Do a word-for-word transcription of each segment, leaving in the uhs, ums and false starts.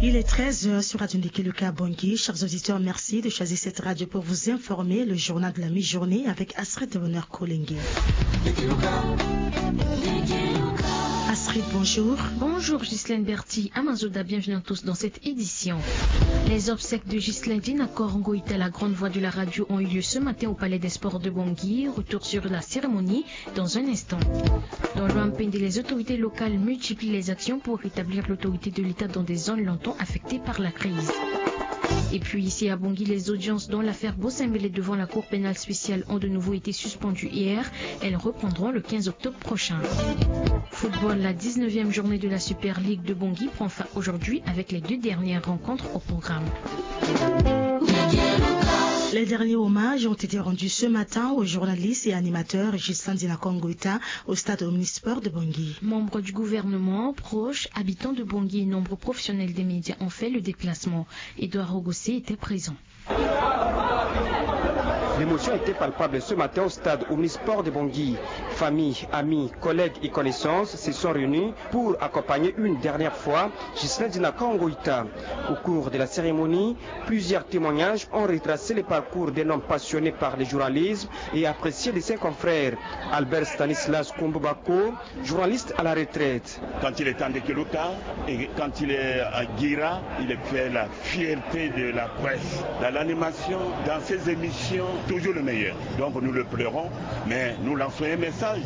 Il est treize heures sur Radio Ndeke Luka Bangui. Chers auditeurs, merci de choisir cette radio pour vous informer. Le journal de la mi-journée avec Astrid Bonheur Kolenge. Astrid, bonjour. Bonjour Ghislaine Berti, Amazoda, bienvenue à tous dans cette édition. Les obsèques de Ghislaine Dinacor Ngoïta, la grande voix de la radio, ont eu lieu ce matin au Palais des Sports de Bangui. Retour sur la cérémonie dans un instant. Dans l'Ouham-Pendé, les autorités locales multiplient les actions pour rétablir l'autorité de l'État dans des zones longtemps affectées par la crise. Et puis ici à Bangui, les audiences dans l'affaire Bossembélé devant la Cour pénale spéciale ont de nouveau été suspendues hier. Elles reprendront le quinze octobre prochain. Football, la dix-neuvième journée de la Super League de Bangui prend fin aujourd'hui avec les deux dernières rencontres au programme. Les derniers hommages ont été rendus ce matin au journaliste et animateur Ghislain Dinacor Ngoïta au stade Omnisport de Bangui. Membres du gouvernement, proches, habitants de Bangui et nombreux professionnels des médias ont fait le déplacement. Édouard Rogossé était présent. L'émotion était palpable ce matin au stade Omnisport de Bangui. Famille, amis, collègues et connaissances se sont réunis pour accompagner une dernière fois Ghislain Dinacor Ngoïta. Au cours de la cérémonie, plusieurs témoignages ont retracé le parcours d'un homme passionné par le journalisme et apprécié de ses confrères. Albert Stanislas Kombo Bako, journaliste à la retraite. Quand il est à Ndekeloka et quand il est à Guira, il fait la fierté de la presse. Dans l'animation, dans ses émissions, toujours le meilleur. Donc nous le pleurons, mais nous lançons un message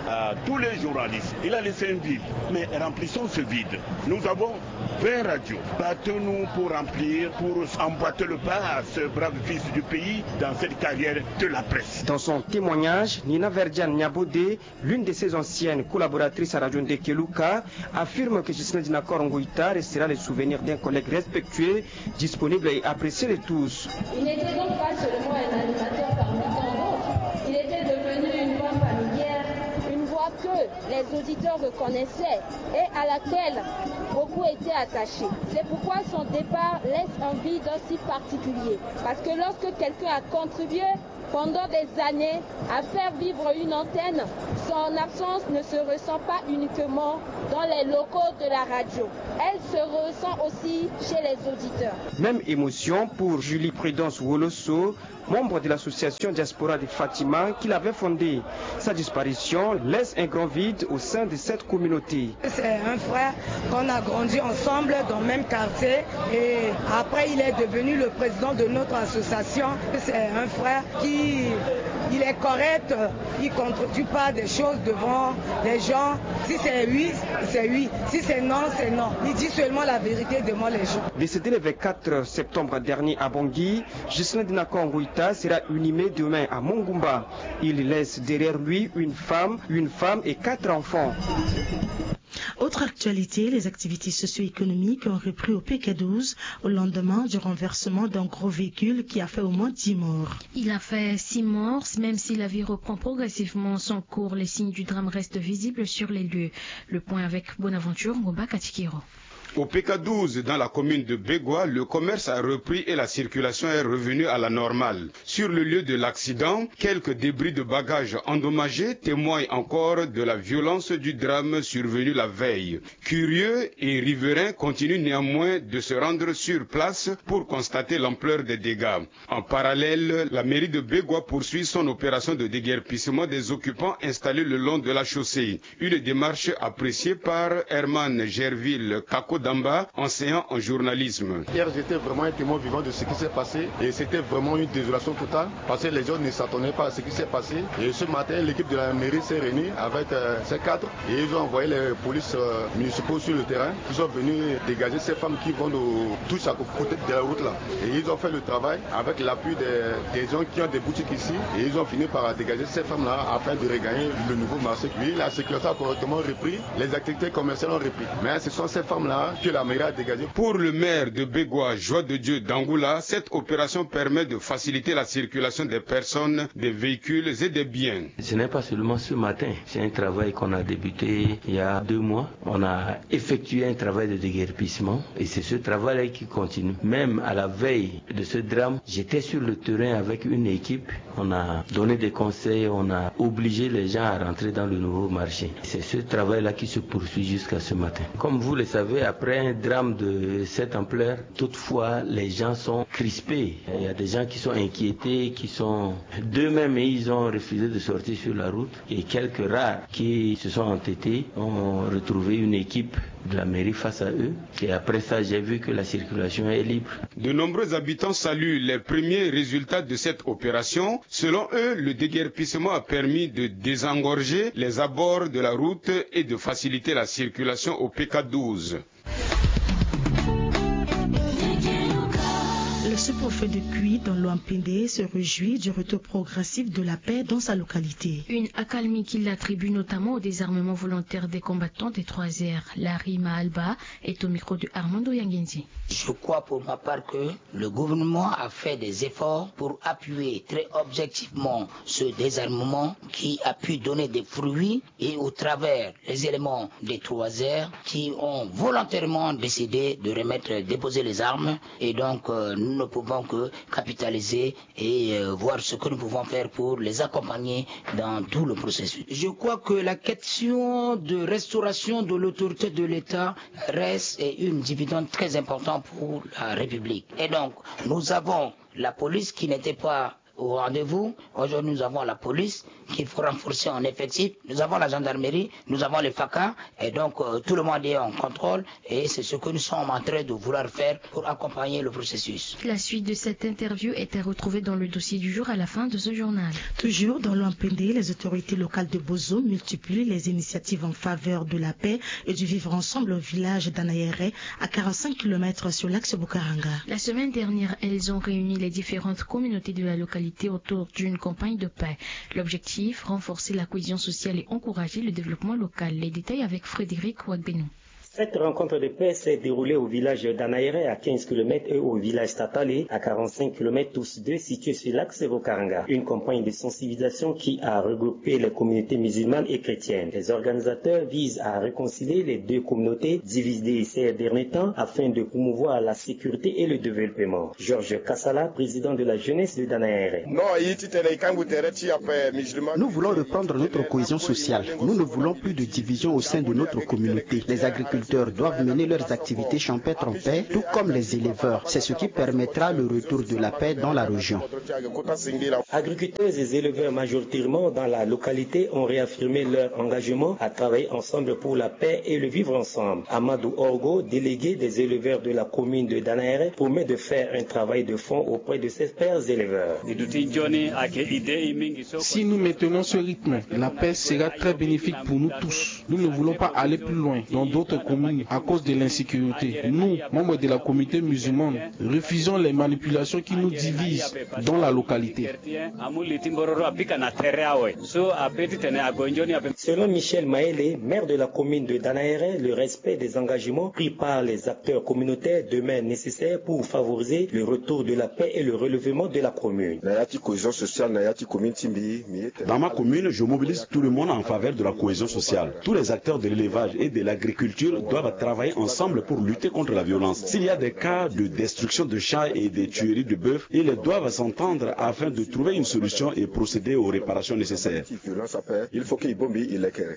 à tous les journalistes. Il a laissé un vide, mais remplissons ce vide. Nous avons vingt radios. Battons-nous pour remplir, pour emboîter le pas à ce brave fils du pays dans cette carrière de la presse. Dans son témoignage, Nina Verdiane Niabodé, l'une de ses anciennes collaboratrices à Radio Ndekeluka, affirme que Ghislain Dinacor Ngoïta restera le souvenir d'un collègue respectueux, disponible et apprécié de tous. Il n'était donc pas seulement un animateur parmi tant d'autres, il était devenu une voix familière, une voix que les auditeurs reconnaissaient et à laquelle beaucoup étaient attachés. C'est pourquoi son départ laisse un vide si particulier. Parce que lorsque quelqu'un a contribué pendant des années à faire vivre une antenne, son absence ne se ressent pas uniquement dans les locaux de la radio. Elle se ressent aussi chez les auditeurs. Même émotion pour Julie Prudence Woloso, membre de l'association Diaspora de Fatima qu'il avait fondée. Sa disparition laisse un grand vide au sein de cette communauté. C'est un frère qu'on a grandi ensemble dans le même quartier et après il est devenu le président de notre association. C'est un frère qui, il est correct, il ne contredit pas des choses devant les gens. Si c'est oui, c'est oui. Si c'est non, c'est non. Il dit seulement la vérité devant les gens. Décédé le vingt-quatre septembre dernier à Bangui, Ghislain Dinacor Ngoïta sera inhumé demain à Mongoumba. Il laisse derrière lui une femme, une femme et quatre enfants. Autre actualité, les activités socio-économiques ont repris au P K douze au lendemain du renversement d'un gros véhicule qui a fait au moins dix morts. Il a fait six morts, même si la vie reprend progressivement son cours. Les signes du drame restent visibles sur les lieux. Le point avec Bonaventure Ngomba Katikiro. Au P K douze, dans la commune de Begwa, le commerce a repris et la circulation est revenue à la normale. Sur le lieu de l'accident, quelques débris de bagages endommagés témoignent encore de la violence du drame survenu la veille. Curieux et riverains continuent néanmoins de se rendre sur place pour constater l'ampleur des dégâts. En parallèle, la mairie de Begwa poursuit son opération de déguerpissement des occupants installés le long de la chaussée. Une démarche appréciée par Herman Gerville Kakodamba, enseignant en journalisme. Hier, j'étais vraiment un témoin vivant de ce qui s'est passé et c'était vraiment une désolation totale parce que les gens ne s'attendaient pas à ce qui s'est passé. Et ce matin, l'équipe de la mairie s'est réunie avec euh, ces cadres et ils ont envoyé les polices euh, municipaux sur le terrain. Ils sont venus dégager ces femmes qui vont de tous à côté de la route là. Et ils ont fait le travail avec l'appui des, des gens qui ont des boutiques ici. Et ils ont fini par dégager ces femmes-là afin de regagner le nouveau marché. Oui, la circulation a correctement repris. Les activités commerciales ont repris. Mais ce sont ces femmes-là que la mairie a dégagées. Pour le maire de Begwa, Joie de Dieu Dangoula, cette opération permet de faciliter la circulation des personnes, des véhicules et des biens. Ce n'est pas seulement ce matin. C'est un travail qu'on a débuté il y a deux mois. On a effectué un travail de déguerpissement et c'est ce travail-là qui continue. Même à la veille de ce drame, j'étais sur le terrain avec une équipe. On a donné des conseils, on a obligé les gens à rentrer dans le nouveau marché. C'est ce travail-là qui se poursuit jusqu'à ce matin. Comme vous le savez, à Après un drame de cette ampleur, toutefois, les gens sont crispés. Il y a des gens qui sont inquiétés, qui sont d'eux-mêmes et ils ont refusé de sortir sur la route. Et quelques rares qui se sont entêtés ont retrouvé une équipe de la mairie face à eux. Et après ça, j'ai vu que la circulation est libre. De nombreux habitants saluent les premiers résultats de cette opération. Selon eux, le déguerpissement a permis de désengorger les abords de la route et de faciliter la circulation au P K douze. Le sous-préfet de Kui dans l'Ouampende se réjouit du retour progressif de la paix dans sa localité. Une accalmie qu'il attribue notamment au désarmement volontaire des combattants des trois R. Larry Mahalba est au micro de Armando Yangenzi. Je crois pour ma part que le gouvernement a fait des efforts pour appuyer très objectivement ce désarmement qui a pu donner des fruits et au travers les éléments des trois R qui ont volontairement décidé de remettre, déposer les armes. Et donc, euh, nous ne pouvons que capitaliser et euh, voir ce que nous pouvons faire pour les accompagner dans tout le processus. Je crois que la question de restauration de l'autorité de l'État reste une dividende très importante pour la République. Et donc, nous avons la police qui n'était pas au rendez-vous. Aujourd'hui, nous avons la police qu'il faut renforcer en effectif. Nous avons la gendarmerie, nous avons les FACA. Et donc, euh, tout le monde est en contrôle. Et c'est ce que nous sommes en train de vouloir faire pour accompagner le processus. La suite de cette interview est à retrouver dans le dossier du jour à la fin de ce journal. Toujours dans l'Ouampende, les autorités locales de Bozo multiplient les initiatives en faveur de la paix et du vivre ensemble au village d'Anaere, à quarante-cinq kilomètres sur l'axe Bukaranga. La semaine dernière, elles ont réuni les différentes communautés de la localité autour d'une campagne de paix. L'objectif, renforcer la cohésion sociale et encourager le développement local. Les détails avec Frédéric Ouagbénou. Cette rencontre de paix s'est déroulée au village d'Anaere, à quinze kilomètres, et au village Tatale, à quarante-cinq kilomètres, tous deux situés sur l'axe Bukaranga. Une campagne de sensibilisation qui a regroupé les communautés musulmanes et chrétiennes. Les organisateurs visent à réconcilier les deux communautés divisées ces derniers temps afin de promouvoir la sécurité et le développement. Georges Kassala, président de la jeunesse de Danaere. Nous voulons reprendre notre cohésion sociale. Nous ne voulons plus de division au sein de notre communauté. Les agriculteurs doivent mener leurs activités champêtres en paix, tout comme les éleveurs. C'est ce qui permettra le retour de la paix dans la région. Agriculteurs et éleveurs majoritairement dans la localité ont réaffirmé leur engagement à travailler ensemble pour la paix et le vivre ensemble. Amadou Orgo, délégué des éleveurs de la commune de Danaere, promet de faire un travail de fond auprès de ses pairs éleveurs. Si nous maintenons ce rythme, la paix sera très bénéfique pour nous tous. Nous ne voulons pas aller plus loin dans d'autres communes à cause de l'insécurité. Nous, membres de la communauté musulmane, refusons les manipulations qui nous divisent dans la localité. Selon Michel Maele, maire de la commune de Danaere, le respect des engagements pris par les acteurs communautaires demeure nécessaire pour favoriser le retour de la paix et le relèvement de la commune. Dans ma commune, je mobilise tout le monde en faveur de la cohésion sociale. Tous les acteurs de l'élevage et de l'agriculture doivent travailler ensemble pour lutter contre la violence. S'il y a des cas de destruction de chats et de tuerie de bœufs, ils doivent s'entendre afin de trouver une solution et procéder aux réparations nécessaires.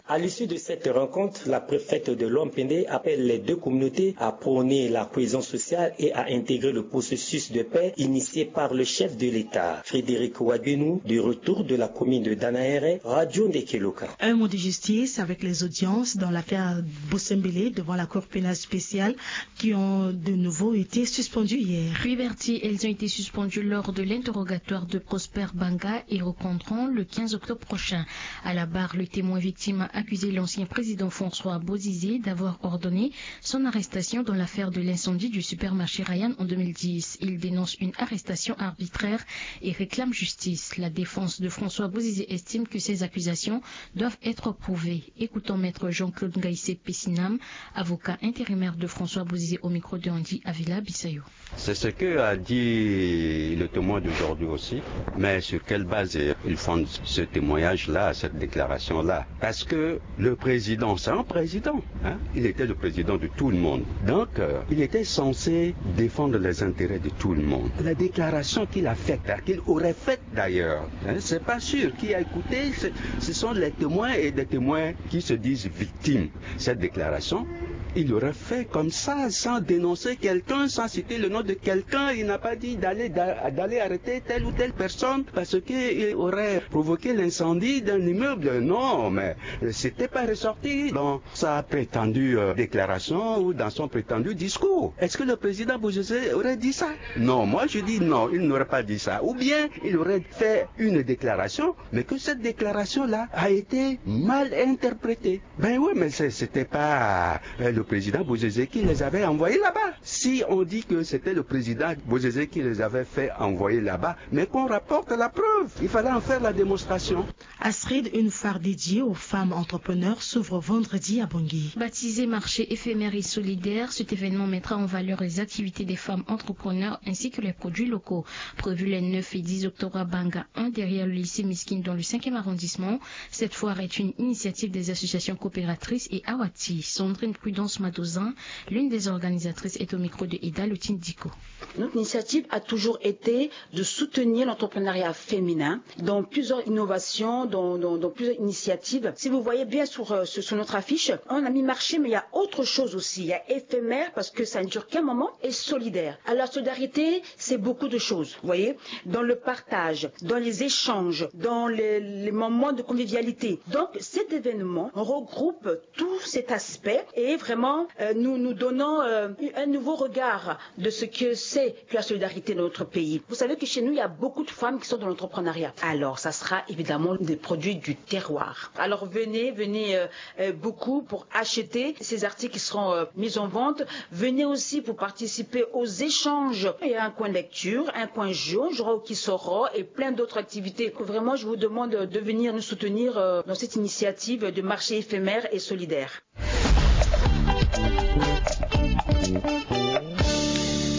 À l'issue de cette rencontre, la préfète de l'Ouampende appelle les deux communautés à prôner la cohésion sociale et à intégrer le processus de paix initié par le chef de l'État. Frédéric Ouagbénou, du retour de la commune de Danaere, Radio Ndekeloka. Un mot de justice avec les audiences dans l'affaire Bossembélé devant la Cour pénale spéciale qui ont de nouveau été suspendues hier. Oui, Bertie, elles ont été suspendues lors de l'interrogatoire de Prosper Banga et reprendront le quinze octobre prochain. À la barre, le témoin victime a accusé l'ancien président François Bozizé d'avoir ordonné son arrestation dans l'affaire de l'incendie du supermarché Ryan en deux mille dix. Il dénonce une arrestation arbitraire et réclame justice. La défense de François Bozizé estime que ces accusations doivent être prouvées. Écoutons maître Jean-Claude Ngaïsé Pessinam, avocat intérimaire de François Bozizé au micro de Andy Avila Bissayo. C'est ce que a dit le témoin d'aujourd'hui aussi. Mais sur quelle base il fonde ce témoignage-là, cette déclaration-là ? Parce que le président, c'est un président. Hein ? Il était le président de tout le monde. Donc, euh, il était censé défendre les intérêts de tout le monde. La déclaration qu'il a faite, hein, qu'il aurait faite d'ailleurs, hein, c'est pas sûr. Qui a écouté, ce sont les témoins et des témoins qui se disent victimes. Cette déclaration, Il aurait fait comme ça sans dénoncer quelqu'un, sans citer le nom de quelqu'un. Il n'a pas dit d'aller, d'a-, d'aller arrêter telle ou telle personne parce qu'il aurait provoqué l'incendie d'un immeuble. Non, mais c'était pas ressorti dans sa prétendue, euh, déclaration ou dans son prétendu discours. Est-ce que le président Bozizé aurait dit ça ? Non, moi je dis non, il n'aurait pas dit ça. Ou bien il aurait fait une déclaration, mais que cette déclaration-là a été mal interprétée. Ben oui, mais c'est, c'était pas, euh, le président Bozizé qui les avait envoyés là-bas. Si on dit que c'était le président Bozizé qui les avait fait envoyer là-bas, mais qu'on rapporte la preuve. Il fallait en faire la démonstration. Astrid, une foire dédiée aux femmes entrepreneurs, s'ouvre vendredi à Bangui. Baptisé marché éphémère et solidaire, cet événement mettra en valeur les activités des femmes entrepreneurs ainsi que les produits locaux. Prévu les neuf et dix octobre à Banga un, derrière le lycée Miskine dans le cinquième arrondissement, cette foire est une initiative des associations coopératrices et Awati. Sandrine Prudence Madozin, l'une des organisatrices, est au micro de Eda Lotine Diko. Notre initiative a toujours été de soutenir l'entrepreneuriat féminin dans plusieurs innovations, dans, dans, dans plusieurs initiatives. Si vous voyez bien sur, euh, sur, sur notre affiche, on a mis marché, mais il y a autre chose aussi. Il y a éphémère parce que ça ne dure qu'un moment et solidaire. Alors, la solidarité, c'est beaucoup de choses, vous voyez, dans le partage, dans les échanges, dans les, les moments de convivialité. Donc, cet événement regroupe tout cet aspect et vraiment, euh, nous, nous donnons, euh, un nouveau regard de ce que c'est que la solidarité dans notre pays. Vous savez que chez nous, il y a beaucoup de femmes qui sont dans l'entrepreneuriat. Alors, ça sera évidemment des produits du terroir. Alors, venez, venez, euh, euh, beaucoup pour acheter ces articles qui seront, euh, mis en vente. Venez aussi pour participer aux échanges. Il y a un coin lecture, un coin jeu, je crois, qui sera et plein d'autres activités. Vraiment, je vous demande de venir nous soutenir, euh, dans cette initiative de marché éphémère et solidaire.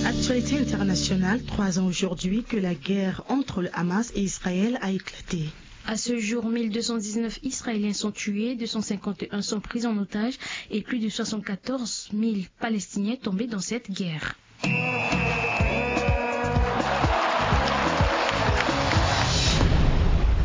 Actualité internationale, trois ans aujourd'hui que la guerre entre le Hamas et Israël a éclaté. À ce jour, mille deux cent dix-neuf Israéliens sont tués, deux cent cinquante et un sont pris en otage et plus de soixante-quatorze mille Palestiniens tombés dans cette guerre.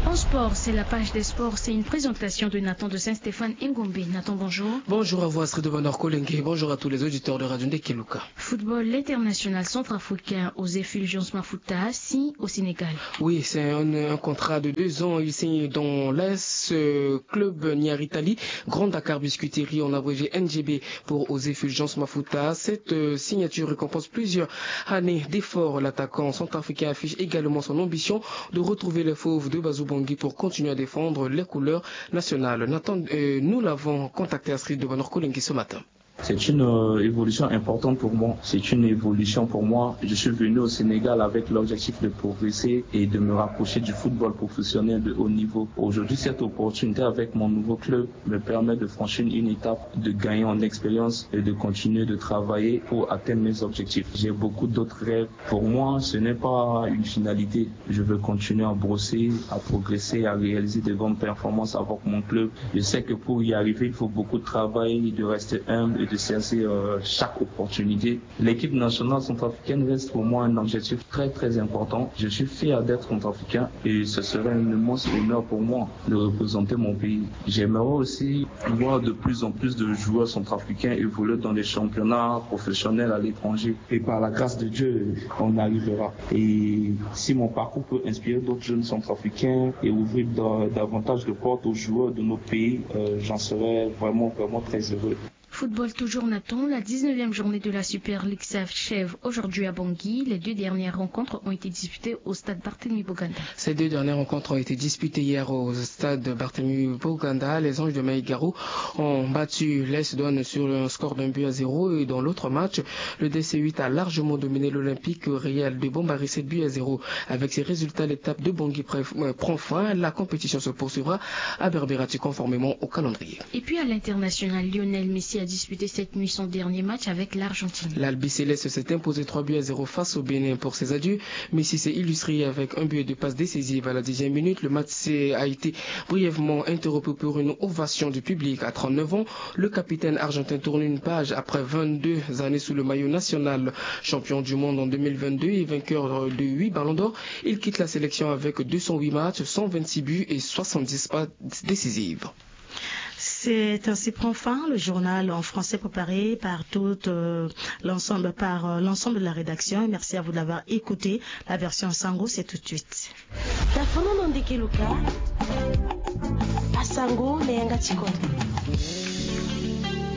En sport, c'est la page des sports. C'est une présentation de Nathan de Saint-Stéphane Ngombe. Nathan, bonjour. Bonjour à vous, Astrid de Bonheur Kolenge. Bonjour à tous les auditeurs de Radio Ndekeluka. Football, l'international centrafricain José Fulgence Mafuta signe au Sénégal. Oui, c'est un, un contrat de deux ans. Il signe dans l'A S, euh, club Niaritali, Grand Dakar Biscuiterie, en abrégé N G B pour José Fulgence Mafuta. Cette, euh, signature récompense plusieurs années d'efforts. L'attaquant centrafricain affiche également son ambition de retrouver les fauves de Bazou Bangui pour continuer à défendre les couleurs nationales. Nathan, euh, nous l'avons contacté, Astrid de Bonheur Kolenge, ce matin. C'est une, euh, évolution importante pour moi. C'est une évolution pour moi. Je suis venu au Sénégal avec l'objectif de progresser et de me rapprocher du football professionnel de haut niveau. Aujourd'hui, cette opportunité avec mon nouveau club me permet de franchir une étape, de gagner en expérience et de continuer de travailler pour atteindre mes objectifs. J'ai beaucoup d'autres rêves. Pour moi, ce n'est pas une finalité. Je veux continuer à brosser, à progresser, à réaliser de grandes performances avec mon club. Je sais que pour y arriver, il faut beaucoup de travail, de rester humble et de saisir, euh, chaque opportunité. L'équipe nationale centrafricaine reste pour moi un objectif très, très important. Je suis fier d'être centrafricain et ce serait un immense honneur pour moi de représenter mon pays. J'aimerais aussi voir de plus en plus de joueurs centrafricains évoluer dans les championnats professionnels à l'étranger. Et par la grâce de Dieu, on y arrivera. Et si mon parcours peut inspirer d'autres jeunes centrafricains et ouvrir da-, davantage de portes aux joueurs de notre pays, euh, j'en serais vraiment, vraiment très heureux. Football toujours, Nathan, la dix-neuvième journée de la Super League s'achève aujourd'hui à Bangui. Les deux dernières rencontres ont été disputées au stade Barthélemy Boganda. Ces deux dernières rencontres ont été disputées hier au stade Barthélemy Boganda. Les Anges de Maïgaro ont battu l'A S Douane sur un score d'un but à zéro et dans l'autre match, le D C huit a largement dominé l'Olympique Real de Bambari, sept buts à zéro. Avec ces résultats, l'étape de Bangui pre-, euh, prend fin. La compétition se poursuivra à Berbérati conformément au calendrier. Et puis à l'international, Lionel Messi a disputé cette nuit son dernier match avec l'Argentine. L'Albi Céleste s'est imposé trois buts à zéro face au Bénin. Pour ses adieux, Messi s'est illustré avec un but et deux passes décisives à la dixième minute. Le match s'est, a été brièvement interrompu pour une ovation du public. À trente-neuf ans, le capitaine argentin tourne une page après vingt-deux années sous le maillot national. Champion du monde en deux mille vingt-deux et vainqueur de huit ballons d'or, il quitte la sélection avec deux cent huit matchs, cent vingt-six buts et soixante-dix passes décisives. C'est ainsi prend fin le journal en français préparé par toute euh, l'ensemble par euh, l'ensemble de la rédaction. Et merci à vous de l'avoir écouté. La version Sango, c'est tout de suite. Tafono no ndeke luka. Asango na yanga tikondo.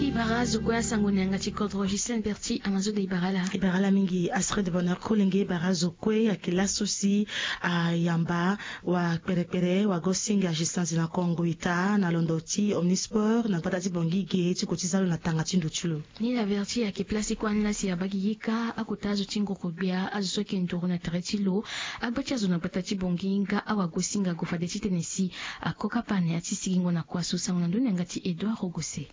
Ibara zo kue asango na yanga tikondo. Justine Berti amazo de ibara la. Ibara la mingi Astrid Bonheur Kolenge. Ibara zo kue ya kila sosi ayamba wa kperekpere wa gosinga Justine Zina Kongo ita na londo ti Omnisport na gbata ti Bongi ge ti ko ti zalo na tanga ti ndo ti lo. Ni la verti ayeke place ti kua ni la si abagi yika akota azo ti ngoko gbia azo so ayeke nduru na tere ti lo. Agba ti azo na gbata ti Bongi nga awagosinga ague fade titene si akokapa na ya ti sigingo na kua so. Sango na ndoni yanga ti Edouard Rogose.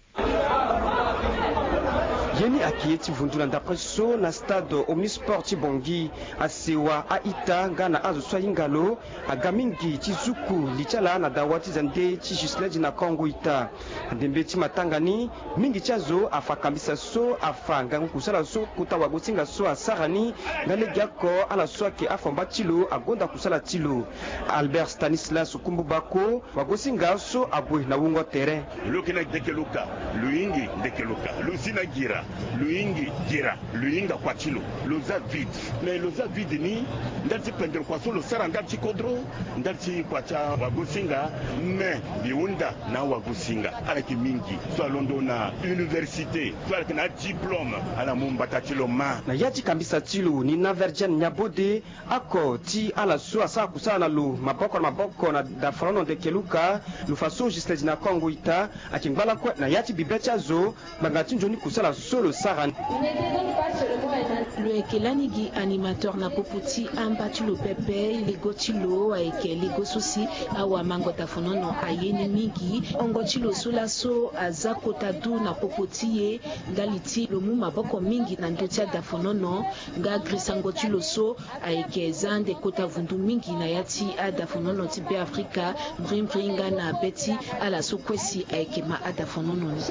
Ye ni ayeke ye ti vundu na ndapre so na stade Omnisport ti Bongi. Asewa a-ita nga na azo so ahinga lo aga mingi ti zuku li ti ala na dawa ti zande ti Ghislain Dina Kongo ita. Ndembe ti matanga ni, mingi ti azo afa kambisa so afa ngangu kusala so kota wagosinga so asara ni. Nga legeoko ala so ayeke afamba ti lo agonda kusala ti lo. Albert Stanislas Kumbu Bako, wagosinga so ague na wungo tere. Lo yeke na ndeke lo ka, lo hingi ndeke lo ka, lo si na gira, lo hingi gira, lo hinga kua ti lo. Lo za vide. Me lo za vide ni ndali ti pendere kua so lo sara ndali ti kodro, ndali ti kua ti awagosinga. Me mbi hunda na awagosinga ala yeke mingi so alondo na université, so ala yeke na adiplôme, ala mu mbata ti lo ma. Na ya ti kambisa ti lo ni na Vergène Niabode, oko ti ala so asara kusala na lo maboko na maboko na dafalono ndeke luka, lo fa so Ghislain Dina Kongo ita ayeke ngba lakue na ya ti bibe ti azo ngbanga ti nzoni kusala so lo sara ni. Lo yeke lani gi animateur na popo ti amba ti lo pepe. Lego ti lo ayeke lego so si awamango dafalono aye ni mingi. Hongo ti lo so laso aza kota du na popo ti e ndali ti lo mu maboko mingi na ndö ti adafalono. Nga grisango ti lo so ayeke za ande kota vundu mingi na ya ti adafalono ti Beafrika, mbrimbri nga na be ti ala so kue si ayeke ma adafalono ni.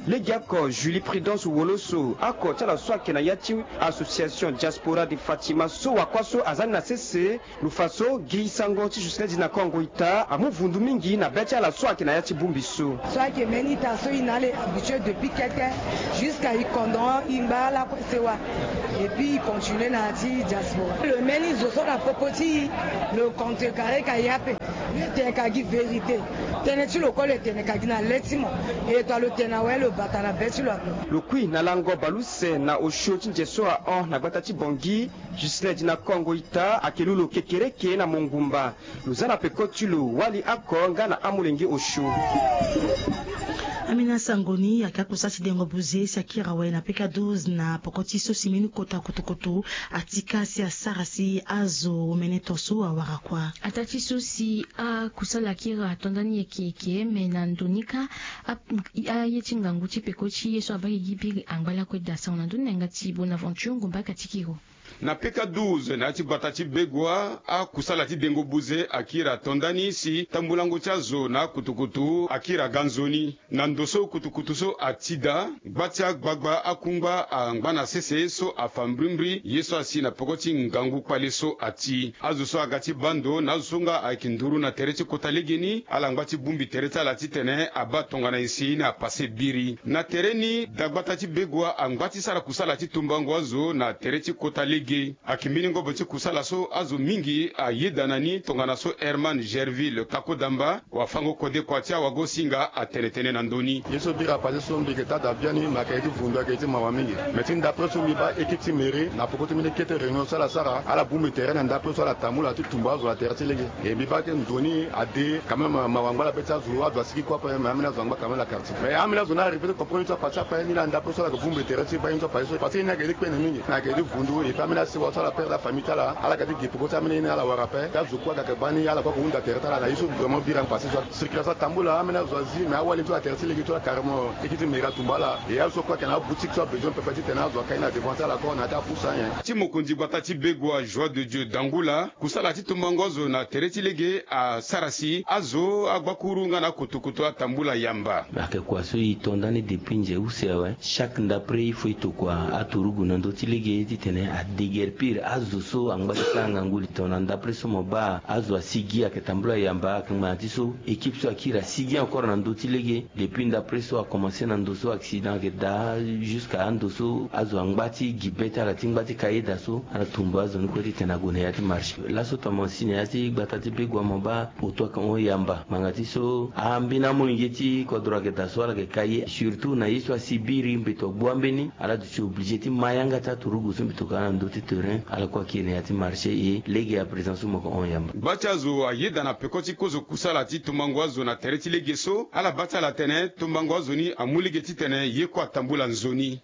Legeoko Julie Prudence Woloso, oko ti ala so ayeke na ya ti association Diaspora de Fatima so wakua so aza ni na sese, lo fa so gi sango ti Ghislain Dina Kongo ita amu vundu mingi na be ti ala so ayeke na ya ti bongbi so. So ayeke mbeni ita so e na ala e habitué depuis kete, jusqu'à e kondoro e ngba lakue sewa. Et puis e continue na ya ti diaspora. Lo mbeni zo so na popo ti e, lo contrecarré ka ya ape. Lo tene ka gi vérité. Tënë ti lo kue lo tene ka gi na le ti mo. E to lo tene awe lo bata na be ti lo ape. Lo kui na lango baleuse na osio ti nze so ahon na gbata ti Bangui. Ghislain Dina Kongo ita ayeke lu lo kekereke na mongumba. Lo za na peko ti lo wali oko nga na amolenge osio. Ambeni asango ni ayeke akusa ti dengo buze si akiri awe na peka douze na poko ti so si mbeni kota kutukutu atika si asara si azo omene to so awara kua. Ataa ti so si akusala akiri ato ndani yeke yeke me na ndo ni kâ, aye ti ngangu ti peko ti ye so abaa gi biri angba lakue daa. Sango na ndö ni na yanga ti Bonaventure Ngumba Katikiro. Na peka douze na ya ti gbata ti Begoua, akusala ti dengo buze akiri ato ndani si tambulango ti azo na akutukutu akiri aga nzoni. Na ndo so kutukutu so ati daa, gba ti agbagba akungba angba na sese so afa mbrimbri ye so asi na peko ti ngangu kpale so ati. Azo so aga ti baa ndo na azo so nga ayeke nduru na tere ti kota legeni ala ngba ti bongbi tere ti ala titene abaa tongana nyen si ni apase biri. Na tere ni, dagbata ti Begoua angba ti sara kusala ti tumbango azo na tere ti kota lege. Ayeke mbeni ngobo ti kusala so azo mingi ayeda na ni tongana so Herman Gerville Kakodamba, wafango kode kua ti awagosinga, atene tënë na ndö ni. Ye so bira pase so mbi yeke taa daa biani, me ayeke ye ti vundu, ayeke ye ti mawa mingi. Me ti ndapre so mbi baa équipe ti mairie na poko ti mbeni kete réunion so ala sara, ala bongbi tere na ndapre so ala tambula ti tumba azo na tere ti lege. E mbi baa ti nzoni ade quand même, mawa angba na be ti azo, azo asigi kue ape, me ambeni azo angba quand même na quartier. Mais ambeni azo ni arrivé ti comprendre ti apassé ape, ni laa ndapre so ala yeke bongbi tere ti baa ye ti apassé so, parce que ye ni ayeke ye ti kpene mingi, ni ayeke ye ti vundu, et puis ambeni asewa so ala perdre afamille ti ala, ala yeke ti gi peko ti ambeni ye ni ala wara ape, ti azo kue aga yeke baa ni, ala kue ayeke hunda tere ti ala na ye so vraiment bira passé so. Circulation atambula, ambeni azo azi, mais awali so na tere ti lege so ala carrément, équipe ti mairie atumba ala, et azo so kue ayeke na aboutique so abesoin pepe titene azo akai ni na devant ti ala kue na ya ti apusa nyen. Ti mokonzi gbata ti Begoua, Joie de Dieu Dangula, kusala ti tumbango azo na tere ti lege asara si azo agbakuru nga na akutukutu atambula yamba. Ayeke kua so e to ndani depuis nze use awe. Chaque ndapre il faut e tokua aturugu na ndö ti lege titene ade Yerpire azo so angba ti sara ngangu li tongana ndapre so mo baa azo asigi ayeke tambula yamba akangba na ti so équipe so akiri asigi encore na ndö ti lege. Depuis ndapre so akomanse na ndo so accident ayeke daa jusque ando so azo angba ti gi be ti ala ti ngba ti kayeda so ala tumba azo ni kue titene ague na ya ti marché. Laso tongana mo si na ya ti gbata ti begua mo baa oto ayeke hon yamba ngbanga ti so ambeni amolenge ti kodro ayeke daa so ala yeke ka ye surtout na ye so asi biri mbeto agbu ambeni ala duti obligé ti ma yanga ti aturugu so mbi tokana na ndö ti terrain ala kue akiri na ya ti marché e lege à présent so mo yeke hon yamba. Gba ti azo ayeda na peko ti kozo kusala ti tumbango azo na tere ti lege so ala baa ti ala atene tumbango azo ni amu lege titene ye kue atambula nzoni.